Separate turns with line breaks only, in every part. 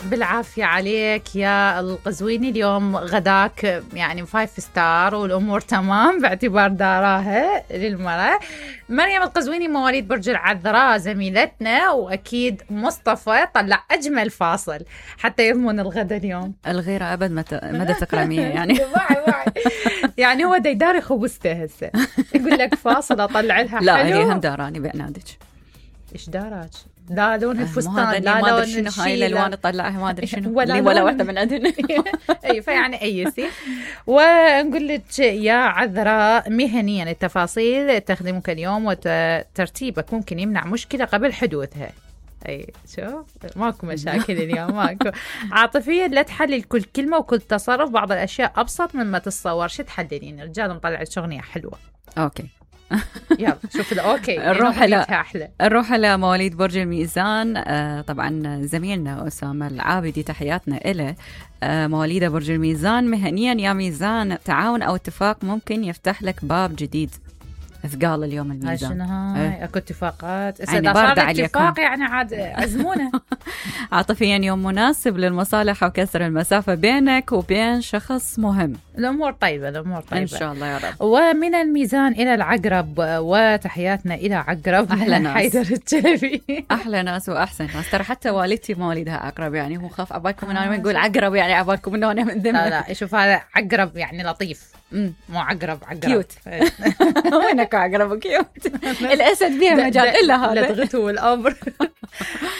بالعافية عليك يا القزويني. اليوم غداك يعني 5 ستار والأمور تمام باعتبار داراها للمرأة. مريم القزويني مواليد برج العذراء زميلتنا، وأكيد مصطفى طلع أجمل فاصل حتى يضمن الغدا اليوم.
الغيرة أبد مدى تكرمية يعني.
واعي يعني هو ديداري خبزته هسه يقول لك فاصل أطلع لها حلو.
لا هي هم داراني بعنادك.
إيش داراج؟ لا لون الفستان،
لا
لون
شنو هاي الالوان تطلعها ما ادري شنو
ولا
واحده من عندنا.
اي فيعني ايسي. ونقول لك يا عذراء مهنيا التفاصيل تخدمك اليوم وترتيبك ممكن يمنع مشكله قبل حدوثها. اي شوف ماكو مشاكل اليوم ماكو. عاطفيا لا تحلل كل كلمه وكل تصرف، بعض الاشياء ابسط مما تتصور. شو تحللين؟ رجال مطلع اغنيه حلوه.
اوكي
يلا شوف اوكي
نروح على مواليد برج الميزان. طبعا زميلنا أسامة العابدي تحياتنا إله. مواليد برج الميزان مهنيا يا ميزان، تعاون أو اتفاق ممكن يفتح لك باب جديد. ثقال اليوم الميزان.
شنو هاي؟ اكو اتفاقات
يعني بارده عليكم.
اتفاق يعني عاد عزمونا.
عاطفيا يوم مناسب للمصالح وكسر المسافة بينك وبين شخص مهم.
الأمور طيبة إن
شاء الله يا رب.
ومن الميزان إلى العقرب، وتحياتنا إلى عقرب.
أحلى ناس
حيدر الجلبي.
أحلى ناس وأحسن ناس. ترى حتى والدتي مواليدها عقرب، يعني هو خاف عبالكم إنه أنا نقول عقرب يعني عبالكم إنه أنا من ذمة.
لا شوف هذا عقرب يعني لطيف، مو عقرب
كيوت. وينك عقرب كيوت. الأسد بيها مجال إلا هذا
لدغته والأمر.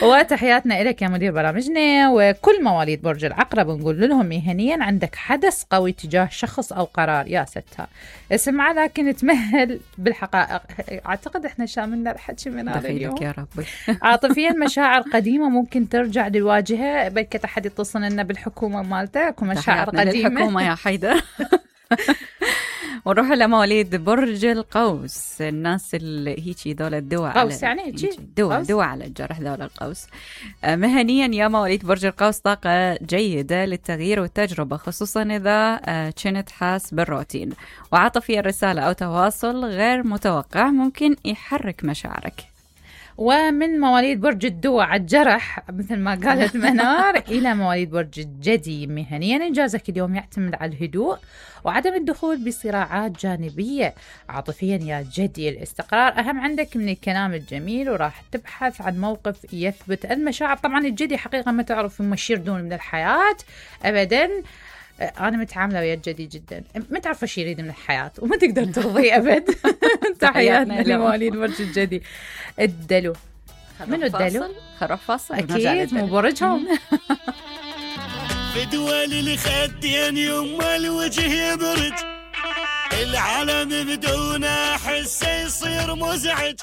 وتحياتنا إليك يا مدير برامجنا وكل مواليد برج العقرب. نقول لهم مهنيا عندك حدث قوي تجاه شخص أو قرار. يا ستها اسمع لكن تمهل بالحقائق. أعتقد إحنا شاملنا الحكي من هذا اليوم
يا ربي.
عاطفيا مشاعر قديمة ممكن ترجع للواجهة. بلكي أحد يتصل لنا بالحكومة مالتك ومشاعر قديمة.
الحكومة يا حيدر. ونروح لمواليد برج القوس. الناس اللي هيجي ذول الدواء
قوس يعني
دواء على الجرح ذول القوس. مهنيا يا مواليد برج القوس طاقة جيدة للتغيير والتجربة، خصوصا إذا كنت حاس بالروتين. وعاطفيا رسالة أو تواصل غير متوقع ممكن يحرك مشاعرك.
ومن مواليد برج الدواء على الجرح مثل ما قالت منار إلى مواليد برج الجدي مهنيا إنجازك اليوم يعتمد على الهدوء وعدم الدخول بصراعات جانبية. عاطفيا يا جدي الاستقرار أهم عندك من الكلام الجميل، وراح تبحث عن موقف يثبت المشاعر. طبعا الجدي حقيقة ما تعرف يمشي دون من الحياة أبدا. أنا متعاملة ويا الجدي جدا، ما تعرف شو يريد من الحياة وما تقدر ترضي أبد. تحياتنا لمواليد برج الجدي. الدلو منو الدلو؟
خروح فاصل
أكيد مو برجهم.
في دول الخدين يما الوجه يبرج، العالم بدون حس يصير مزعج.